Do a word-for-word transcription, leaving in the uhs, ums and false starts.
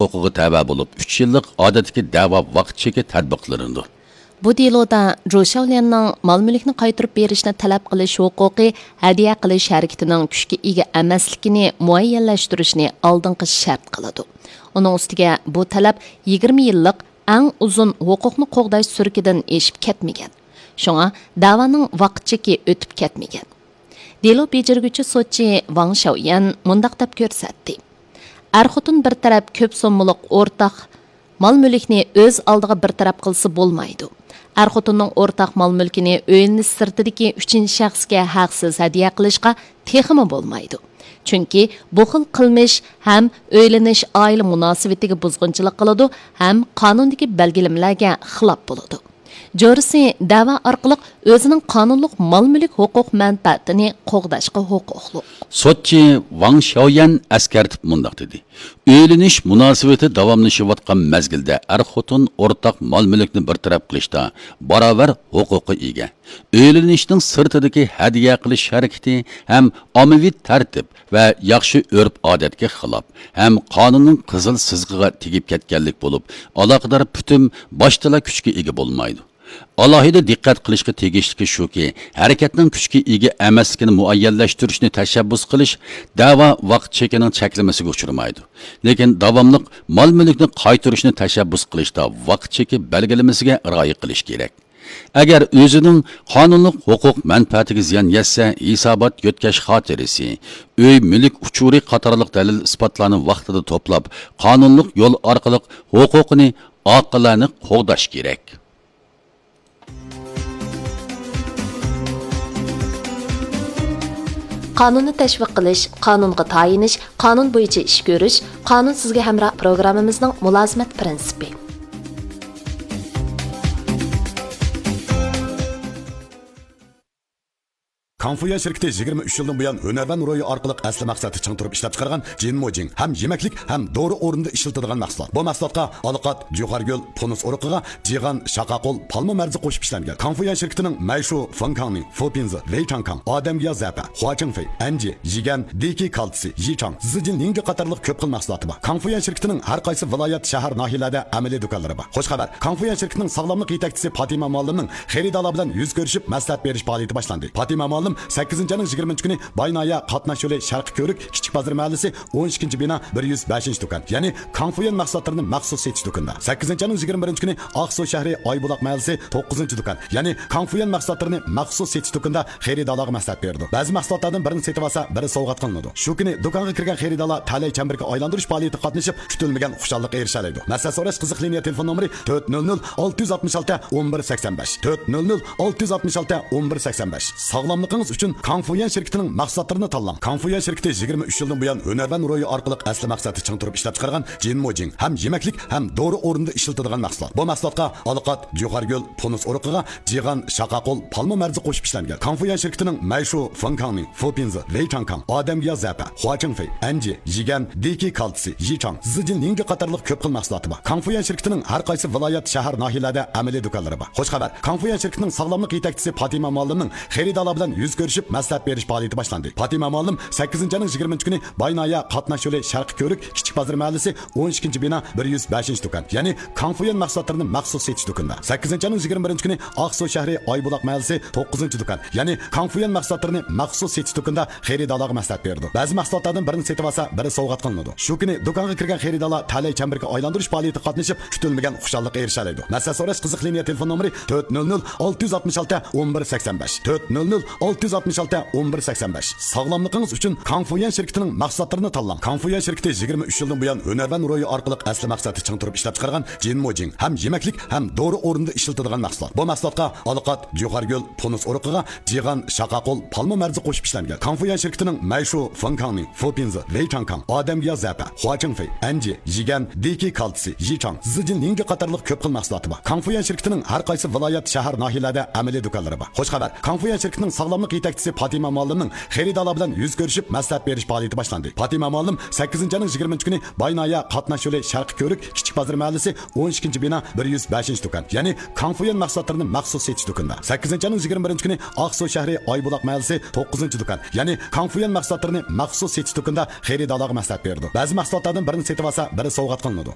ھوقۇقىغا تەۋە بولۇپ، ئۈچ يىللىق ئادەتتىكى دەۋا ۋاقىت چېكى تەتبىقلىنىدۇ. بۇ دېلودا جۇ شياۋليەننىڭ مال-مۈلۈكنى قايتۇرۇپ بېرىشنى تەلەپ قىلىش ھوقۇقى ھەدىيە قىلىش ھەرىكىتىنىڭ كۈچكە ئىگە ئەمەسلىكىنى مۇئەييەنلەشتۈرۈشنى ئالدىنقى شەرت قىلىدۇ. ئۇنىڭ ئۈستىگە بۇ تەلەپ يىگىرمە يىللىق ئەڭ ئۇزۇن ھوقۇقنى قوغداش سۈركىدىن ئېشىپ كەتمىگەن. شۇڭا دەۋانىڭ ۋاقىت چېكى ئۆتۈپ كەتمىگەن. دېلو بېجىرگۈچى سوتچى ۋاڭ شياۋيەن مۇنداق دەپ كۆرسەتتى: ئەر-خوتۇن بىر تەرەپ كۆپ سوممىلىق ئورتاق مال-مۈلۈكنى ئۆز ئالدىغا بىر تەرەپ قىلسا بولمايدۇ. ئەر-خوتۇننىڭ ئورتاق مال-مۈلكىنى ئۆيلىنىش سىرتىدىكى ئۈچىنچى شەخسكە ھەقسىز ھەدىيە قىلىشقا تېخىمۇ بولمايدۇ. چۈنكى بۇ خىل قىلمىش ھەم ئۆيلىنىش ئائىلە مۇناسىۋىتىگە بۇزغۇنچىلىق قىلىدۇ، ھەم قانۇندىكى بەلگىلىمىلەرگە خىلاپ بولىدۇ. جورىسى دەۋا ئارقىلىق ئۆزىنىڭ قانۇنلۇق مال-مۈلۈك ھوقۇق مەنپەئەتىنى قوغداشقا ھوقۇقلۇق. سوتچى ۋاڭ شياۋيەن ئەسكەرتىپ مۇنداق دېدى: ئۆيلىنىش مۇناسىۋىتى داۋاملىشىۋاتقان مەزگىلدە ئەر-خوتۇن ئورتاق مال-مۈلۈكنى بىر تەرەپ قىلىشتا باراۋەر ھوقۇققا ئىگە. ئۆيلىنىشنىڭ سىرتىدىكى ھەدىيە قىلىش ھەرىكىتى ھەم ئاممىۋى تەرتىپ ۋە ياخشى ئۆرپ-ئادەتكە خىلاپ، ھەم قانۇننىڭ قىزىل سىزىقىغا تېگىپ كەتكەنلىك بولۇپ، ئالاقىدار پۈتۈم باشتىلا كۈچكە ئىگە بولمايدۇ. ئالاھىدە دىققەت قىلىشقا تېگىشلىكى شۇكى، ھەرىكەتنىڭ كۈچكە ئىگە ئەمەسلىكىنى مۇئەييەنلەشتۈرۈشنى تەشەببۇس قىلىش دەۋا ۋاقىت چېكىنىڭ چەكلىمىسىگە ئۇچرىمايدۇ. لېكىن داۋاملىق مال-مۈلۈكنى قايتۇرۇشنى تەشەببۇس قىلىشتا ۋاقىت چېكى بەلگىلىمىسىگە رىئايە قىلىش كېرەك. ئەگەر ئۆزىنىڭ قانۇنلۇق ھوقۇق مەنپەئەتىگە زىيان يەتسە، ھېسابات يۆتكەش خاتىرىسى، ئۆي مۈلۈك ئۇچۇرى قاتارلىق دەلىل-ئىسپاتلارنى ۋاقتىدا توپلاپ، قانۇنلۇق يول ئارقىلىق ھوقۇقىنى ئاقىلانە قوغداش كېرەك. قانۇننى تەشۋىق قىلىش، قانۇنغا تايىنىش، قانۇن بويىچە ئىش كۆرۈش، قانۇن سىزگە ھەمراھ پروگراممىمىزنىڭ مۇلازىمەت پىرىنسىپى. كاڭفۇيۈەن شىركىتى يىگىرمە ئۈچ يىلدىن بۇيان ھۈنەرۋەن روھى ئارقىلىق ئەسلى مەقسەتتە چىڭ تۇرۇپ ئىشلەپچىقارغان جىنمۇجىڭ ھەم يېمەكلىك ھەم دورا ئورنىدا ئىشلىتىدىغان مەھسۇلات. بۇ مەھسۇلاتقا ئالىقات، جۇخارگۈل، پونۇس ئۇرۇقىغا جىغان، شاقاقۇل، پالما مەرزى قوشۇپ ئىشلەنگەن. كاڭفۇيۈەن شىركىتىنىڭ مەيشۇ، فېنكاڭنىڭ، فوپىنزى، ۋېيچاڭكاڭ، ئادەمگىياھ زەپە، خۇاچىڭفېي، ئەنجى، يىگەن، دېكى كالتسى، يىچاڭ، زىجىن لىڭگې قاتارلىق كۆپ خىل مەھسۇلاتى بار. كاڭفۇيۈەن شىركىتىنىڭ ھەر قايسى ۋىلايەت، شەھەر، ناھىيەلەردە ئەمەلىي دۇكانلىرى بار. خوش خەۋەر! كاڭفۇيۈەن شىركىتىنىڭ ساغلاملىق يېتەكچىسى پاتىمە مۇئەللىمنىڭ خېرىدارلار بىلەن يۈز كۆرۈشۈپ مەسلىھەت بېرىش پائالىيىتى باشلاندى. پاتىمە مۇئەللىم سەككىزىنچى ئاينىڭ يىگىرمىنچى كۈنى باي ناھىيە قاتناش يولى شەرقىي كۆۋرۈك كىچىك بازار مەھەللىسى ئون ئىككىنچى بىنا بىر يۈز بەشىنچى دۇكان، يەنى كاڭفۇيۈەن مەھسۇلاتلىرىنى مەخسۇس سېتىش دۇكىنىدا. سەككىزىنچى ئاينىڭ يىگىرمە بىرىنچى كۈنى ئاقسۇ شەھىرى ئايبۇلاق مەھەللىسى توققۇزىنچى دۇكان، يەنى كاڭفۇيۈەن مەھسۇلاتلىرىنى مەخسۇس سېتىش دۇكىنىدا خېرىدارلارغا مەسلىھەت بېرىدۇ. بەزى مەھسۇلاتلاردىن بىرىنى سېتىۋالسا، بىرى سوۋغات قىلىنىدۇ. شۇ كۈنى دۇكانغا كىرگەن خېرىدارلار تەلەي چەمبىرىكى ئايلاندۇرۇش پائالىيىتىگە قاتنىشىپ، كۈتۈلمىگەن خۇشاللىققا ئېرىشەلەيدۇ. مەسلىھەت سوراش قىزىق لىنىيە تېلېفون نومۇرى تۆت نۆل نۆل ئالتە يۈز ئاتمىش ئالتە ئون بىر سەكسەن بەش، تۆت نۆل نۆل ئالتە يۈز ئاتمىش ئالتە ئون بىر سەكسەن بەش. ساغلاملىقىڭىز ئۈچۈن كاڭفۇيۈەن شىركىتىنىڭ مەھسۇلاتلىرىنى تاللاڭ. كاڭفۇيۈەن شىركىتى يىگىرمە ئۈچ يىلدىن بۇيان ھۈنەرۋەن روھى ئارقىلىق ئەسلى مەقسەتتە چىڭ تۇرۇپ ئىشلەپچىقارغان جىنمۇجىڭ ھەم يېمەكلىك ھەم دورا ئورنىدا ئىشلىتىدىغان مەھسۇلات. بۇ مەھسۇلاتقا ئالىقات، جۇخارگۈل، پونۇس ئۇرۇقىغا جىغان، شاقاقۇل، پالما مەرزى قوشۇپ ئىشلەنگەن. كاڭفۇيۈەن شىركىتىنىڭ مەيشۇ، فېنكاڭنىڭ، فوپىنزى، ۋېيچاڭكاڭ، ئادەمگىياھ زەپە، خۇاچىڭفېي، ئەنجى، يىگەن، دېكى كالتسى، يىچاڭ، زىجىن لىڭگې قاتارلىق كۆپ خىل مەھسۇلاتى بار. كاڭفۇيۈەن شىركىتىنىڭ ھەر قايسى ۋىلايەت، شەھەر، ناھىيەلەردە ئەمەلىي دۇكانلىرى بار. خوش خەۋەر! كاڭفۇيۈەن شىركىتىنىڭ ساغلاملىق يېتەكچىسى پاتىمە مۇئەللىمنىڭ خېرىدارلار بىلەن يۈز كۆرۈشۈپ مەسلىھەت بېرىش پائالىيىتى باشلاندى. پاتىمە مۇئەللىم سەككىزىنچى ئاينىڭ يىگىرمىنچى كۈنى باي ناھىيە قاتناش يولى شەرقىي كۆۋرۈك كىچىك بازار مەھەللىسى ئون ئىككىنچى بىنا بىر يۈز بەشىنچى دۇكان، يەنى كاڭفۇيۈەن مەھسۇلاتلىرىنى مەخسۇس سېتىش دۇكىنىدا. سەككىزىنچى ئاينىڭ يىگىرمە بىرىنچى كۈنى ئاقسۇ شەھىرى ئايبۇلاق مەھەللىسى توققۇزىنچى دۇكان، يەنى كاڭفۇيۈەن مەھسۇلاتلىرىنى مەخسۇس سېتىش دۇكىنىدا خېرىدارلارغا مەسلىھەت بېرىدۇ. بەزى مەھسۇلاتلاردىن بىرىنى سېتىۋالسا، بىرى سوۋغات قىلىنىدۇ. شۇ كۈنى دۇكانغا كىرگەن خېرىدارلار تەلەي چەمبىرىكى ئايلاندۇرۇش پائالىيىتىگە قاتنىشىپ، كۈتۈلمىگەن خۇشاللىققا ئېرىشەلەيدۇ. مەسلىھەت سوراش قىزىق لىنىيە تېلېفون نومۇرى تۆت نۆل نۆل ئالتە يۈز ئاتمىش ئالتە ئون بىر سەكسەن بەش، تۆت نۆل نۆل ئالتە يۈز ئاتمىش ئالتە ئون بىر سەكسەن بەش. ساغلاملىقىڭىز ئۈچۈن كاڭفۇيۈەن شىركىتىنىڭ مەھسۇلاتلىرىنى تاللاڭ. كاڭفۇيۈەن شىركىتى يىگىرمە ئۈچ يىلدىن بۇيان ھۈنەرۋەن روھى ئارقىلىق ئەسلى مەقسەتتە چىڭ تۇرۇپ ئىشلەپچىقارغان جىنمۇجىڭ ھەم يېمەكلىك ھەم دورا ئورنىدا ئىشلىتىدىغان مەھسۇلات. بۇ مەھسۇلاتقا ئالىقات، جۇخارگۈل، پونۇس ئۇرۇقىغا جىغان، شاقاقۇل، پالما مەرزى قوشۇپ ئىشلەنگەن. كاڭفۇيۈەن شىركىتىنىڭ مەيشۇ، فېنكاڭنىڭ، فوپىنزى، ۋېيچاڭكاڭ، ئادەمگىياھ زەپە، خۇاچىڭفېي، ئەنجى، يىگەن، دېكى كالتسى، يىچاڭ، زىجىن لىڭگې قاتارلىق كۆپ خىل مەھسۇلاتى بار. كاڭفۇيۈەن شىركىتىنىڭ ھەر قايسى ۋىلايەت، شەھەر، ناھىيەلەردە ئەمەلىي دۇكانلىرى بار. خوش خەۋەر! كاڭفۇيۈەن شىركىتىنىڭ ساغلاملىق يېتەكچىسى پاتىمە مۇئەللىمنىڭ خېرىدارلار بىلەن يۈز كۆرۈشۈپ مەسلىھەت بېرىش پائالىيىتى باشلاندى. پاتىمە مۇئەللىم سەككىزىنچى ئاينىڭ يىگىرمىنچى كۈنى باي ناھىيە قاتناش يولى شەرقىي كۆۋرۈك كىچىك بازار مەھەللىسى ئون ئىككىنچى بىنا بىر يۈز بەشىنچى دۇكان، يەنى كاڭفۇيۈەن مەھسۇلاتلىرىنى مەخسۇس سېتىش دۇكىنىدا، سەككىزىنچى ئاينىڭ يىگىرمە بىرىنچى كۈنى ئاقسۇ شەھىرى ئايبۇلاق مەھەللىسى توققۇزىنچى دۇكان، يەنى كاڭفۇيۈەن مەھسۇلاتلىرىنى مەخسۇس سېتىش دۇكىنىدا خېرىدارلارغا مەسلىھەت بېرىدۇ. بەزى مەھسۇلاتلاردىن بىرىنى سېتىۋالسا، بىرى سوۋغات قىلىنىدۇ.